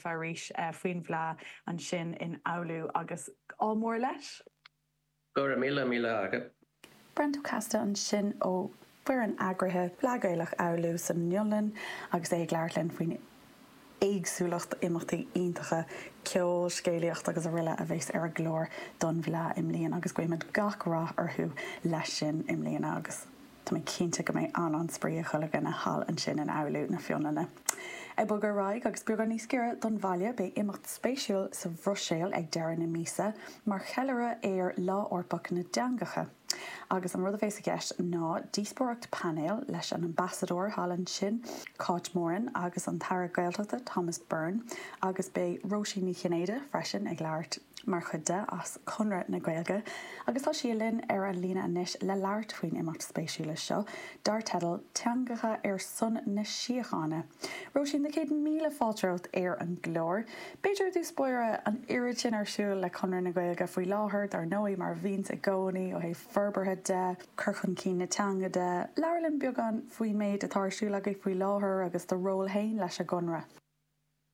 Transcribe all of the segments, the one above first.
libh arís faoin bhFleadh ansin in Oulu agus ádh mór leis. Go raibh míle míle agat. Brent Ó Costa ansin ó fhoireann eagraithe Fleadh Gaelach Oulu san Fhionlainn agus é ag labhairt linn faoin éagsúlacht imeachtaí iontacha, ceol, scéalaíocht agus aroile a bheas ar an gclár don bhFleadh i mbliana agus guímid gach rath orthu leis sin i mbliana agus tá mé cinnte go mbeidh an-an-spraoi ag chuile dhuine thall ansin in Oulu na Fionlainne. Ag bogadh ar aghaidh agus beagán níos giorra don bhaile beidh imeacht spéisiúil sa Bhruiséil ag deireadh na míosa mar cheiliúradh ar Lá Eorpach na dTeangacha. Agus an rud a bheas i gceist ná díospóireacht painéil leis an ambasadóir thall ansin, Cáit Moran, agus an tAire Gaeltachta, Thomas Byrne, agus beidh Róisín Ní Chinnéide freisin ag labhairt mar chuid de as Conradh na Gaeilge. Agus tá sí linn ar an líne anois le labhairt faoin imeacht spéisiúla seo, dar teideal 'Teangacha ar son na Síochána'. Róisín, na céad míle fáilte romhat ar an gclár. B'fhéidir i dtús báire, an oiread sin ar siúl le Conradh na Gaeilge faoi láthair, dar ndóigh, mar a bhíonns i gcónaí ó thaobh forbartha de, cur chun cinn na teanga de. Labhair linn beagán faoin méid atá ar siúl agaibh faoi láthair agus do ról féin leis an gConradh.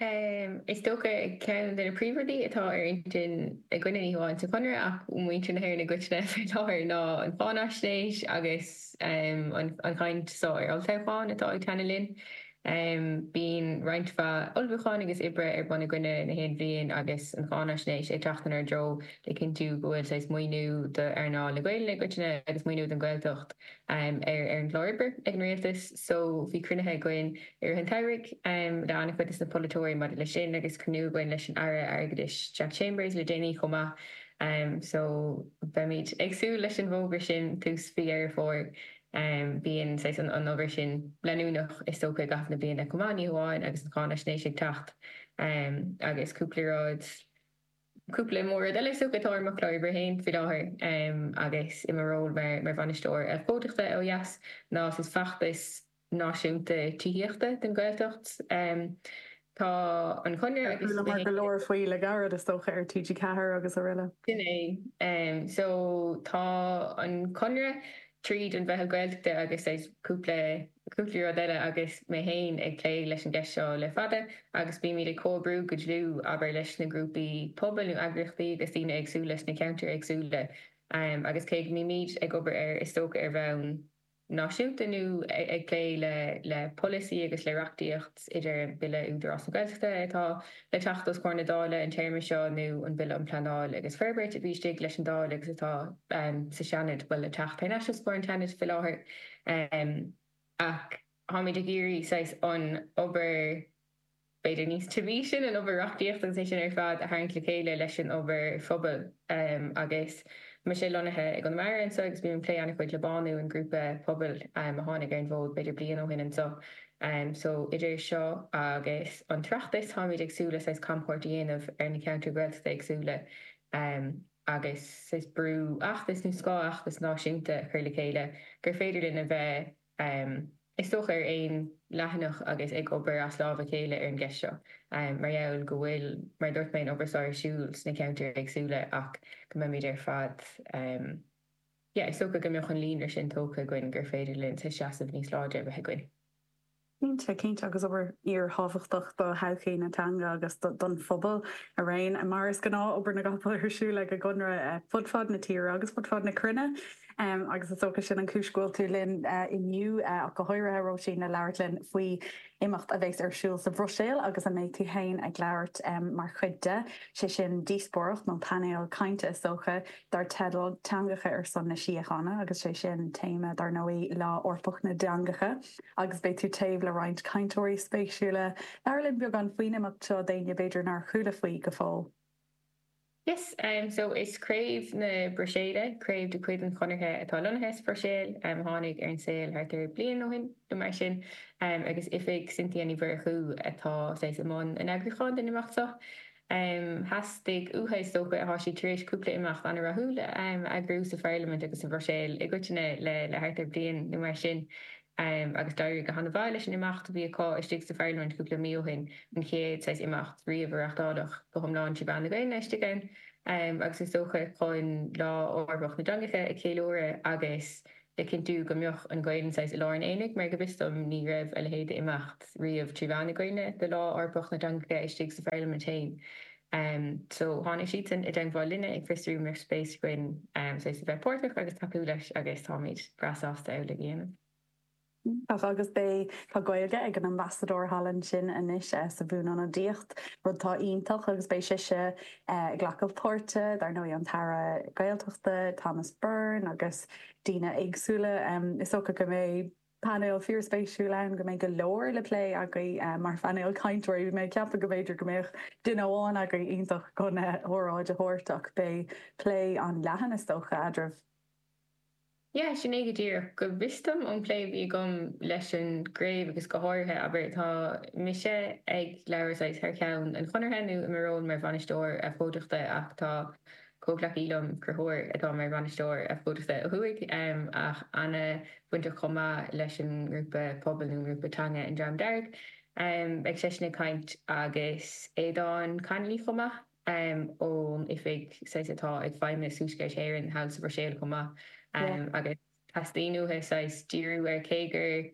Is dócha ceann de na príomhrudaí atá ar intinn againne, ní hamháin sa Chonradh ach muintir na hÉireann i gcoitinne faoi láthair, ná an cháinaisnéis agus an chaint so ar olltoghchán atá ag teannadh linn. Bíonn roinnt mhaith ullmhúcháin agus oibre ar bun againne na haon bhliain agus an cháinaisnéis ag teacht inár dtreo le cinntiú go bhfuil saghas maoiniú d'earnáil na Gaelainne i gcoitinne agus maoiniú don Ghaeltacht ar an gclár oibre ag an Rialtas. So bhí cruinnithe againn i rith an tsamhraidh le an-chuid des na polaiteoirí maidir leis sin agus cruinniú againn leis an Aire Airgeadais Jack Chambers le déanaí chomh maith. So beimid ag súil leis an bhfógra sin tús mhí Dheireadh Fómhair. Bíonn saghas an obair sin leanúnach is dócha i gcaitheamh na bliana chomh maith, ní hamháin agus an cháinaisnéis ag teacht agus cúpla rud, cúpla mór-rud eile is dócha atá ar mo chlár oibre féin faoi láthair agus i mo ról mar bhainisteoir abhcóideachta ó dheas ná saghas feachtas náisiúnta tithíochta don Ghaeltacht. Tá an Conradh agus. Chualamar go leor faoi le gairid, is dócha, ar TG4 agus araile. Sin é. So tá an Conradh tríd an Mheitheal Gaeltachta agus saghas cúpla, cúpla rud eile agus mé féin ag plé leis an gceist seo le fada agus bímid ag comhoibriú go dlúth, abair, leis na grúpaí pobail nó eagraíochtaí agus daoine éagsúla sna ceantair éagsúla agus cé go mbímid ag obair air is dócha ar bhonn náisiúnta nó ag plé le polasaí agus le reachtaíocht idir an Bille Údarás na Gaeltachta atá le teacht os comhair na Dála an téarma seo nó an Bille um Pleanáil agus Forbairt a bhí istigh leis an Dáil agus atá sa Seanad, bhuel le teacht thar n-ais os comhair an tSeanaid faoi láthair. Ach táimid ag iarraidh saghas an obair b'fhéidir níos tibí sin, an obair reachtaíochta agus é sin ar fad a tharraingt le chéile leis an obair phobail. Agus mise lonnaithe i gConamara anseo agus bím ag plé an-chuid le Bánú, an grúpa pobail a tháinig ar an bhfód b'fhéidir bliain ó shin anseo. So idir seo agus an tOireachtas táimid ag súil le saghas camchuairt a dhéanamh ar na ceantair Ghaeltachta éagsúla agus saghas brú fheachtas nó scáthfheachtas náisiúnta a chur le chéile gur féidir linn a bheith is dócha, ar aon leathanach agus ag obair as lámh a chéile ar an gceist seo, mar gheall go bhfuil, mar a dúirt mé, an obair seo ar siúl sna ceantair éagsúla ach go mbeimid ar fad, yeah, is dócha go mbeadh an líonra sin tógtha againn gur féidir linn seasamh níos láidre a bheith againn. Cinnte, cinnte, agus obair fhíorthábhachtach do thodhchaí na teanga agus don phobal araon. Mar is gnáth, obair na gcapall ar siúl ag an gConradh fud fad na tíre agus fud fad na cruinne. Agus is dócha sin an chúis go bhfuil tú linn inniu, ach go háirithe, Róisín, le labhairt linn faoi imeacht a bheas ar siúl sa Bhruiséil agus a mbeidh tú féin ag labhairt mar chuid de, sé sin díospóireacht nó painéal cainte is dócha, dar teideal 'Teangacha ar son na Síochána' agus sé sin téama, dar ndóigh, Lá Eorpach na dTeangacha agus beidh tú taobh le roinnt cainteoirí spéisiúla. Labhair linn beagán faoin imeacht seo d'éinne b'fhéidir nár chuala faoi go fóill. Yes, so is craobh na Bruiséile, craobh de chuid an Chonartha atá lonnaithe sa Bhruiséil, a tháinig ar an saol thart ar bliain ó shin nó mar sin, agus oifig Cynthia Ní Mhurchú atá saghas i mbun an eagrúcháin den imeacht seo. Theastaigh uathu, is dócha, tá siad tar éis cúpla imeacht an-rathúil a eagrú sa Pharlaimint agus sa Bhruiséil i gcoitinne le thart ar bliain nó mar sin. Agus d'éirigh go han-mhaith leis an imeacht a bhí acu istigh sa Pharlaimint cúpla mí ó shin, an chéad saghas imeacht riamh a reáchtáladh go hiomlán trí mheán na Gaeilge istigh ann. Agus is dócha chun Lá Eorpach na dTeangacha a cheiliúradh agus. Le cinntiú go mbeadh an Ghaelainn saghas i lár an aonaigh mar go bhfios dom ní raibh a leithéid d'imeacht riamh trí mheán na Gaelainne do Lá Eorpach na dTeangacha istigh sa Pharlaimint féin. So tháinig siadsan i dteagmháil linne ag fiosrú an mbeadh spéis againn saghas a bheith páirteach agus tacú leis agus táimid breá sásta amhlaidh a dhéanamh. Iontach agus beidh, tá Gaeilge ag an ambasadóir thall ansin anois sa bhuanionadaíocht, rud atá iontach agus beidh sise ag glacadh páirte, dar ndóigh an tAire Gaeltachta Thomas Byrne agus daoine éagsúla. Is dócha go mbeidh painéal fíorspéisiúil ann, go mbeidh go leor le plé agaibh mar phainéal cainteoirí. Bhí mé ag ceapadh go mb'fhéidir go mbeadh duine amháin agaibh iontach chun óráid a thabhairt ach beidh plé an-leathan is dócha eadraibh. Yeah, sin é go díreach. Go bhfios dom ón bplé a bhí agam leis an gcraobh agus go háirithe, abair, tá mise ag labhairt saghas thar ceann an Chonartha nó i mo ról mar bhainisteoir abhcóideachta ach tá comhghleacaí liom, Conchúr, atá mar bhainisteoir abhcóideachta ó thuaidh ach ana-bhainteach chomh maith leis an ngrúpa pobail nó an ngrúpa teanga An Dream Dearg. Beidh seisean ag caint agus Aodán Connolly chomh maith. ón oifig saghas atá ag Feidhmeannas Thuaisceart Éireann thall sa Bhruiséil chomh maith agus teastaíonn uathu saghas díriú ar cé gur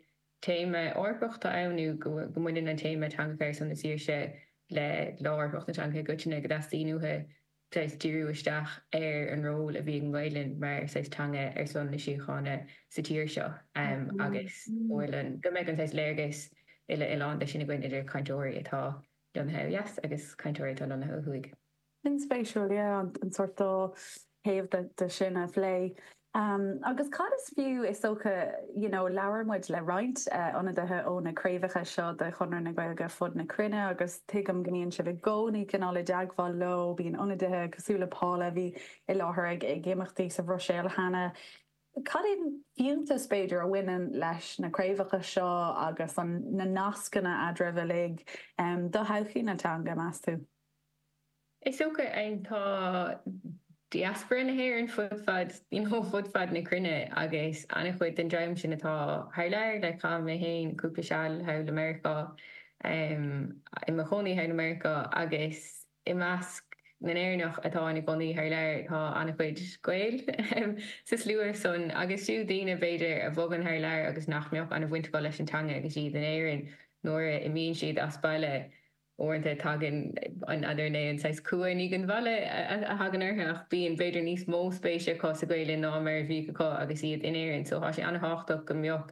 téama Eorpach atá ann nó go mbaineann an téama Teangacha ar son na Saoirse le Lá Eorpach na dTeangacha i gcoitinne go dteastaíonn uathu saghas díriú isteach ar an ról a bhí ag an nGaelainn mar saghas teanga ar son na síochána sa tír seo agus go bhfuil an go mbeidh an saghas léargas uile-oileánda sin againn idir cainteoirí atá lonnaithe ó dheas agus cainteoirí atá lonnaithe ó thuaidh. An-spéisiúil, yeah, an sórt dá thaobh de sin a phlé. Agus cad is fiú, is dócha, you know, labhair muid le roinnt ionadaithe ó na craobhacha seo de Chonradh na Gaeilge fud na cruinne agus tuigim go mbíonn sibh i gcónaí cineál i dteagmháil leo, bíonn ionadaithe cosúil le Paula a bhí i láthair ag ag imeachtaí sa Bhruiséil cheana. Cad é an fiúntas, b'fhéidir, a bhaineann leis na craobhacha seo agus an, na nascanna eadraibh uilig do thodhchaí na teanga, meas tú? Is dócha, tá diaspora na hÉireann fud fad, you know, fud fad na cruinne agus an-chuid den dream sin atá thar lear, like chaith mé féin cúpla seal thall i Meiriceá, i mo chónaí thall i Meiriceá agus I measc na nÉireannach atá ina gcónaí thar lear tá an-chuid Gael sa slua san agus fiú daoine, b'fhéidir, a bhogann thar lear agus nach mbeadh an-bhaint acu leis an teanga agus iad in Éirinn, nuair a imíonn siad as baile, uaireanta tagann an, n'fheadar an é an saghas cumha i ndiaidh an bhaile a thagann orthu ach bíonn b'fhéidir níos mó spéise acu sa Ghaelainn ná mar a bhíodh acu agus iad in Éirinn so tá sé an-thábhachtach go mbeadh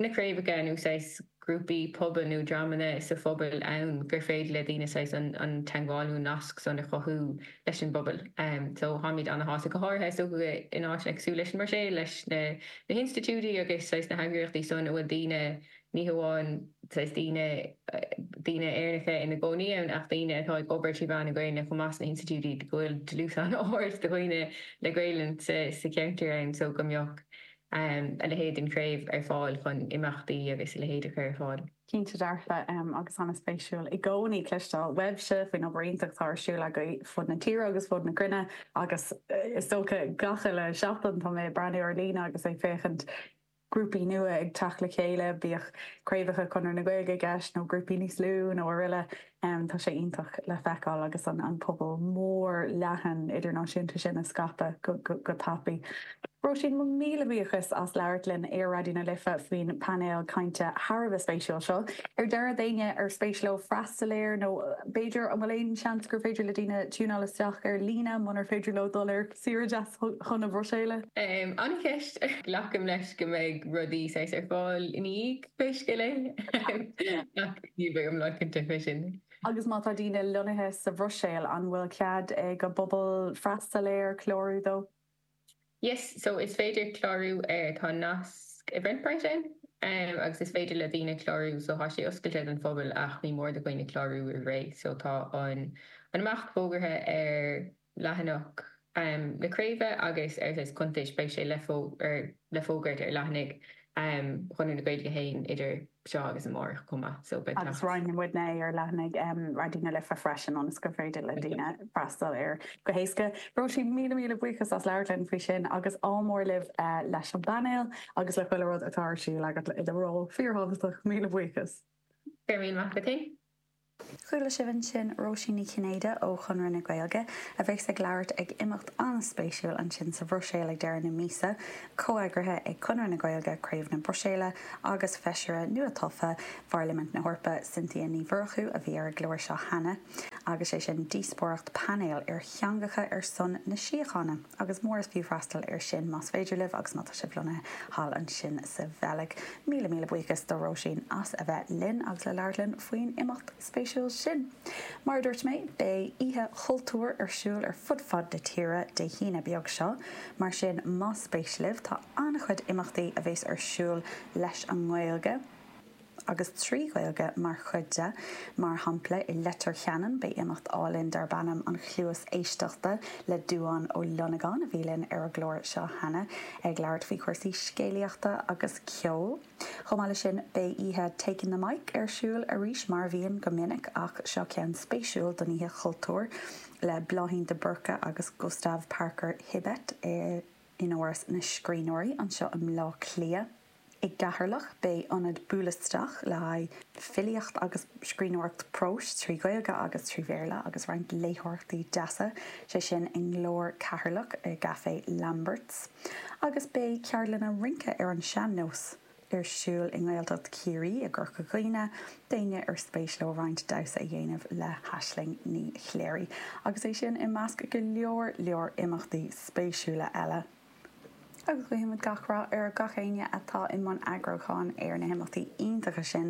na craobhacha nó saghas grúpaí pobail nó dreamanna sa phobal ann gur féidir le daoine saghas an teagmháil nó an nasc san a chothú leis an bpobal. So táimid ana-shásta, go háirithe is dócha in áiteanna cosúil leis an mBruiséil, leis na hinstitiúidí agus saghas na heagraíochtaí san a bhfuil daoine, ní hamháin saghas daoine, daoine Éireannacha ina gcónaí ann ach daoine atá ag obair trí mheán na Gaelainne chomh maith sna hinstitiúidí go bhfuil dlús an-ard de dhaoine le Gaelainn sa cheantar ann so go mbeadh a leithéid den chraobh ar fáil chun imeachtaí agus a leithéid a chur ar fáil. Cinnte dearfa, agus an-spéisiúil i gcónaí cloisteáil uaibhse faoin obair iontach atá ar siúl agaibh fud na tíre agus fud na cruinne agus is dócha gach uile seachtain tá mé ag breathnú ar líne agus ag féachaint grúpaí nua ag teacht le chéile, bíodh craobhacha Chonradh na Gaeilge i gceist nó grúpaí níos lú nó araile. Tá sé iontach le feiceáil agus an pobal mór leathan idirnáisiúnta sin ag scaipeadh go tapaidh. Róisín, mo mhíle buíochas as labhairt linn ar Raidió na Life faoin bpainéal cainte thar a bheith spéisiúil seo. Ar deireadh, d'éinne ar spéis leo freastal air nó b'fhéidir an bhfuil aon seans gur féidir le daoine tiúnáil isteach ar líne munar féidir leo dul ar saoire deas chun na Bruiséile? An-cheist. Glacaim leis go mbeidh rudaí saghas ar fáil ina dhiaidh, pé scéal é. Ach níl mé iomlán cinnte fé sin. Agus má tá daoine lonnaithe sa Bhruiséil, an bhfuil cead ag an bpobal freastal air, clárú dó? Yes, so is féidir clárú air, tá nasc Eventbrite ann agus is féidir le daoine clárú, so tá sé oscailte don phobal ach ní mór do dhaoine clárú roimh ré. So tá an imeacht fógartha ar leathanach na craoibhe agus ar saghas cuntais, beidh sé le le fógairt ar leathanaigh Chonradh na Gaeilge féin idir seo agus amárach chomh maith so beidh Agus roinnfidh muidne é ar leathanaigh Raidió na Life freisin ionas gur féidir le daoine freastal air go héasca. Róisín, míle míle buíochas as labhairt linn faoi sin agus ádh mór libh leis an bpainéal agus le chuile rud atá ar siúl agat i do ról fíorthábhachtach. Míle buíochas. Go raibh míle maith agat féin. Chuala sibh ansin Róisín Ní Chinnéide ó Chonradh na Gaeilge a bheas ag labhairt ag imeacht an-spéisiúil ansin sa Bhruiséil ag deireadh na míosa, comheagraithe ag Conradh na Gaeilge, Craobh na Bruiséile agus Feisire nua-tofa Pharlaimint na hEorpa, Cynthia Ní Mhurchú a bhí ar an gclár seo cheana, agus sé sin díospóireacht painéil ar theangacha ar son na síochána. Agus mór is fiú freastal air sin más féidir libh agus má tá sibh lonnaithe thall ansin sa Bheilg. Míle míle buíochas do Róisín as a bheith linn agus le labhairt linn faoin imeacht spéisiúil sin. Mar a dúirt mé, beidh Oíche Chultúir ar siúl ar fud fad na tíre Dé hAoine beag seo, mar sin más spéis libh, tá an-chuid imeachtaí a bheas ar siúl leis an nGaeilge. agus trí Ghaeilge mar chuid de. Mar shampla, i Leitir Ceanainn beidh imeacht álainn darb ainm An Chluas Éisteachta le Dubhán Ó Longáin, a bhí linn ar an gclár seo cheana, ag labhairt faoi chúrsaí scéalaíochta agus ceoil. Chomh maith leis sin, beidh oíche Taking the Mic ar siúl arís, mar a bhíonn go minic, ach seo ceann spéisiúil don Oíche Chultúir le Bláithín de Búrca agus Gustav Parker Hibbett in Áras na Scríbhneoirí anseo i mBleá Cliath. I gCeatharlach, beidh ionad Buail Isteach le haghaidh filíocht agus scríbhneoireacht próis trí Ghaeilge agus trí Bhéarla agus roinnt léitheoireachtaí deasa, sé sin i nGlór Ceatharlach i gCaifé Lamberts. Agus beidh ceardlanna rince ar an sean-nós ar siúl i nGaeltacht Chiarraí i gCorca Dhuibhne d'éinne ar spéis leo roinnt damhsa a dhéanamh le hAisling Ní Chléirigh. Agus é sin i measc go leor leor imeachtaí spéisiúla eile. Agus guímid gach rath ar gach éinne atá i mbun eagrúcháin ar na himeachtaí iontacha sin.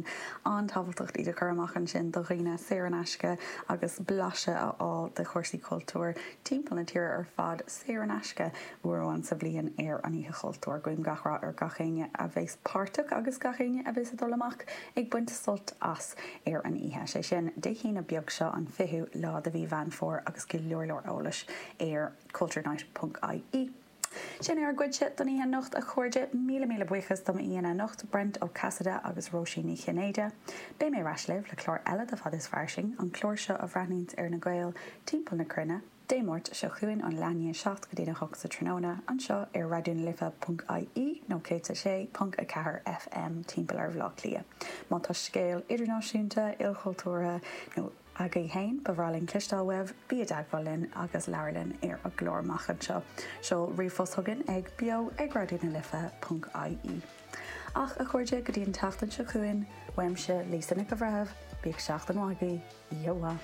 An-tábhachtach iad a chur amach ansin do dhaoine saor in aisce agus blaiseadh a fháil de chúrsaí cultúir timpeall na tíre ar fad saor in aisce uair amháin sa bhliain ar an Oíche Chultúir. Guím gach rath ar gach éinne a bheas páirteach agus gach éinne a bheas ag dul amach ag baint sult as ar an oíche. Sé sin Dé hAoine beag seo an 20ú lá de mhí Mheán Fómhair agus go leor leor eolais ar culturenight.ie. Sin é ár gcuidse don oíche anocht, a chairde. Míle míle buíochas do m'aíonna anocht, Brent Ó Casaide agus Róisín Ní Chinnéide. Beidh mé ar ais libh le clár eile de Fada is Fairsing, an clár seo a bhreathnaíonns ar na Gaeil timpeall na cruinne, Dé Máirt seo chugainn ón leath i ndiaidh 7 go dtí'n 8 sa tráthnóna, anseo ar Raidió na Life ponc ie nó 106.4 FM timpeall ar Bhaile Átha Cliath. Má tá scéal idirnáisiúnta, ilchultúrtha nó. Agaibh féin, ba bhreá linn cloisteáil uaibh, bí i dteagmháil linn agus labhair linn ar an gclár amach anseo. Seol ríomhphost chugainn ag beo ag raidió na life ponc ie. Ach, a chairde, go dtí an tseachtain seo chugainn, uaimse, Lisa Nic an Bhreithimh, bíodh seachtain mhaith agaibh, Iehobhah!